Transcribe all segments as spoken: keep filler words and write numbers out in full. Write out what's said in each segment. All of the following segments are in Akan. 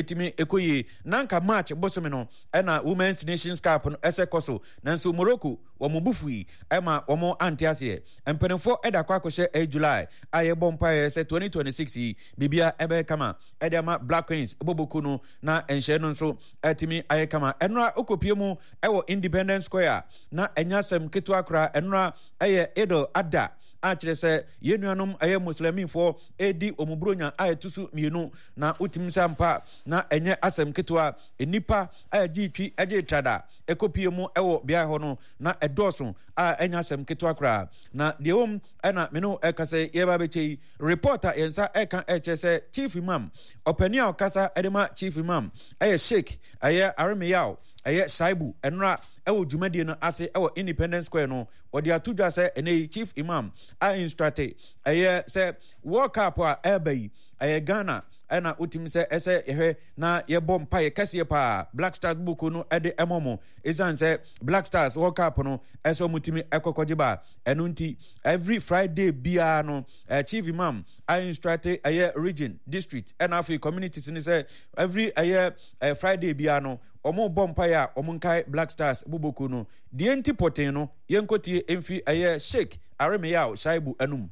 Ɛtumi ɛkɔ yie. Na nka March bosome no ɛna Women's Nations Cup no ɛsɛ kɔ so, nanso Morocco wɔn bo fui ɛma wɔn ante aseɛ. Mpanimfoɔ ɛda akɔ akɔhyɛ ɛyɛ July a yɛbɔ mpaeɛ sɛ twenty twenty-six yi biribia ɛbɛyɛ kama ɛde ama Black Queens bɔbɔku no na nhyɛ no nso ɛtumi ayɛ kama. Ɛnora okopie mu ɛwɔ Independence Square na ɛnya asɛm ketewa koraa. Ɛnora ɛyɛ Eid Adha a kyerɛ sɛ yɛn nuanom ɛyɛ Muslimifoɔ ɛredi wɔn buronya a ɛto so mmienu, na wotumi sɛ ampa na ɛnyɛ asɛm ketewa. Nnipa a ɛgye twi ɛgye trada ɛkɔpie mu ɛwɔ beaeɛ hɔ no na ɛdɔɔso a ɛnyɛ asɛm ketewa koraa. Na deɛ wɔm ɛna me no ɛka sɛ yɛba bɛkyɛ yi, report a yɛn nsa ɛka ɛkyerɛ sɛ Chief Imam, ɔpanin a ɔkasa ɛde ma Chief Imam, ɛyɛ Sheikh ɛyɛ Aremeyaw ɛyɛ Shaibu, ɛnora ɛwɔ dwumadie no ase ɛwɔ Independence Square no, wɔde ato dwa sɛ ɛnɛ yi Chief Imam a instruct ɛyɛ sɛ World Cup a ɛreba yi, ɛyɛ Ghana ɛna wotumi sɛ ɛsɛ yɛhwɛ na yɛbɔ mpaeɛ kɛseɛ paa Black Stars buku no ɛde ɛmɔ mo, ɛsiane sɛ Black Stars World Cup no ɛsɛ ɔmo tumi ɛkɔkɔgye ba. Ɛno nti every Friday biara no, uh, Chief Imam a instruct ɛyɛ region, district ɛna afei communities ne sɛ every ɛyɛ uh, Friday biara no, ɔmo bɔ mpaeɛ a ɔmo nkae Black Stars buboku no. Deɛ nti pɔten no, yɛnkɔtie mfi ɛyɛ Sheikh Aremeyaw Shaibu anum.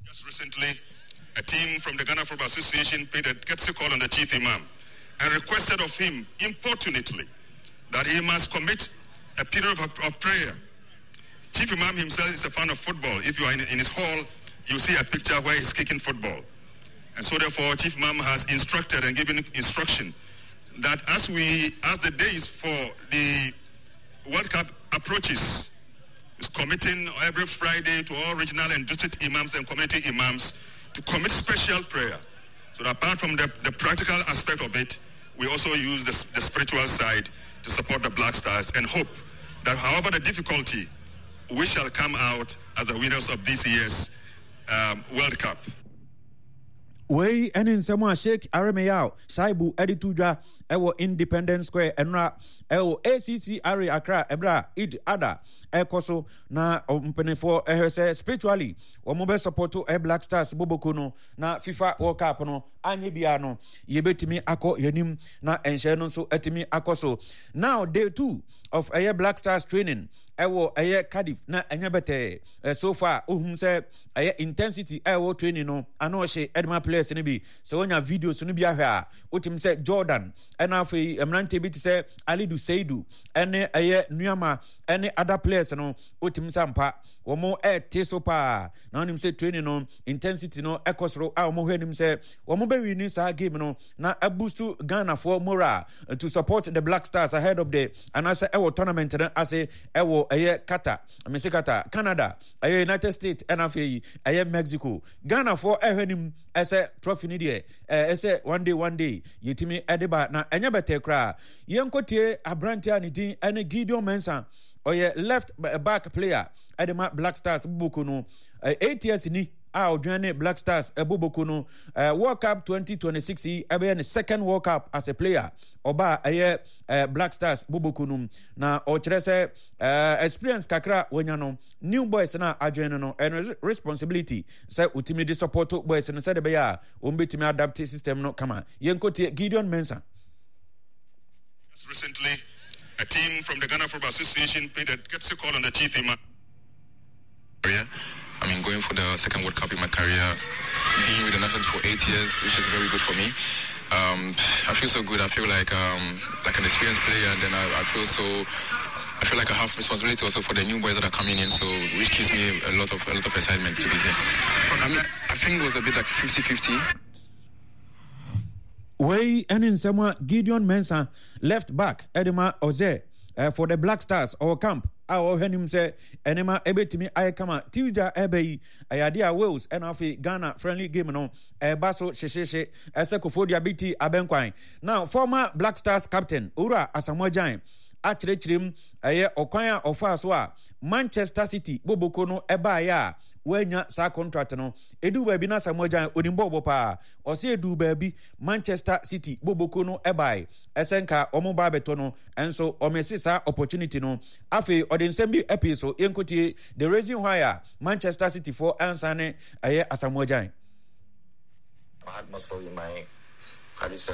Just recently, a team from the Ghana Football Association paid a courtesy call on the Chief Imam and requested of him importunately that he must commit a period of, of prayer. Chief Imam himself is a fan of football. If you are in, in his hall, you see a picture where he's kicking football. And so therefore, Chief Imam has instructed and given instruction that as we, as the days for the World Cup approaches, is committing every Friday to all regional and district imams and community imams to commit special prayer. So that apart from the, the practical aspect of it, we also use the, the spiritual side to support the Black Stars and hope that, however the difficulty, we shall come out as the winners of this year's um, World Cup. Wei ne nsɛm a Sheikh Aremeyaw Shaibu de to dwa ɛwɔ Independence Square ɛnora ɛwɔ A C C R A Accra, ɛberɛ a Eid Adha ɛkɔ so, na mpanimfoɔ ɛhwɛ sɛ spiritually wɔn bɛ support ɛ Black Stars boboko no na FIFA World Cup no anyɛ biara no, yɛbɛtumi akɔ yɛnim na nhyɛ no nso atumi akɔ so. Now, day two of ɛyɛ Black Stars training ɛwɔ ɛyɛ Cardiff na ɛnyɛ bɛtɛɛ. So far, ohun sɛ ɛyɛ intensity ɛwɔ training no ano ɔhyɛ ɛde ma players no bi. Sɛ wonya videos no bi ahwɛ a, wotumi sɛ Jordan ɛna afei mmeranteɛ bi te sɛ Alidu Seidu ɛne ɛyɛ Nuama ɛne other players no, wotumi sɛ mpa wɔn ɛɛte so paa, na wɔnim sɛ training no intensity no ɛkɔ soro a wɔn hwɛ anim sɛ wɔn bɛwi ni saa game no na aboost Ghanafoɔ morale to support the Black Stars ahead of the anaasɛ ɛwɔ tournament no ase ɛwɔ ɛyɛ Qatar, mesi Qatar, Canada, ɛyɛ United States ɛna afei ɛyɛ Mexico. Ghanafoɔ ɛhwɛ anim ɛsɛ trophy no deɛ, ɛsɛ one day, one day yɛtumi ɛde ba na ɛnyɛ bɛtɛ koraa. Yɛnkɔtie aberante a ne din ɛne Gideon Mensah, ɔyɛ left back player ɛde ma Black Stars boboko no, eight years ni a ɔdwan ne Black Stars ɛboboko no. World Cup twenty twenty-six yi ɛbɛyɛ ne second World Cup as a player ɔba ɛyɛ Black Stars boboko no, na ɔkyerɛ sɛ experience kakra wɔnya no, new boys na adwene no no ɛno responsibility sɛ wotumi de support boys no sɛde bɛyɛ a wɔn bɛtumi adapt system no kama. Yɛnkɔtie Gideon Mensah. Recently, a team from the Ghana Football Association paid a courtesy call on the Chief Imam. I mean, going for the second World Cup in my career, being with the national for eight years, which is very good for me. Um, I feel so good. I feel like um, like an experienced player, and then I, I feel so. I feel like I have responsibility also for the new boys that are coming in, so which gives me a lot of a lot of excitement to be here. I mean, I think it was a bit like fifty-fifty. Wei ne nsɛm a Gideon Mensah, left back ɛde ma ɔzɛ uh, for the Black Stars, ɔwɔ camp a ɔhwɛ anim sɛ ɛnema ɛbɛtumi ayɛ kama. Tuesday a ɛbɛ yi, ɛyɛ adeɛ a Wales ɛna afei Ghana friendly game no ɛba so hyehyehye ɛsɛ Koforidua B T abɛnkwan. Now, former Black Stars captain Owura Asamoah Gyan akyerɛkyerɛ mu ɛyɛ ɔkwan a ɔfaa so a Manchester City boboko no ɛbaeɛ a wɔanya saa contract no. Edu baabi na Asamoah Gyan onim bɔɔbɔ paa. Ɔsɛ edu baabi Manchester City boboko no ɛbae ɛsɛ nka wɔn ba abɛtɔ no, ɛnso ɔmɛsi saa opportunity no. Afei ɔde nsɛm bi ɛpii so. Yɛnkotie the reason why a Manchester City foɔ ansa ne ɛyɛ Asamoah Gyan. I had muscle in my quadriceps.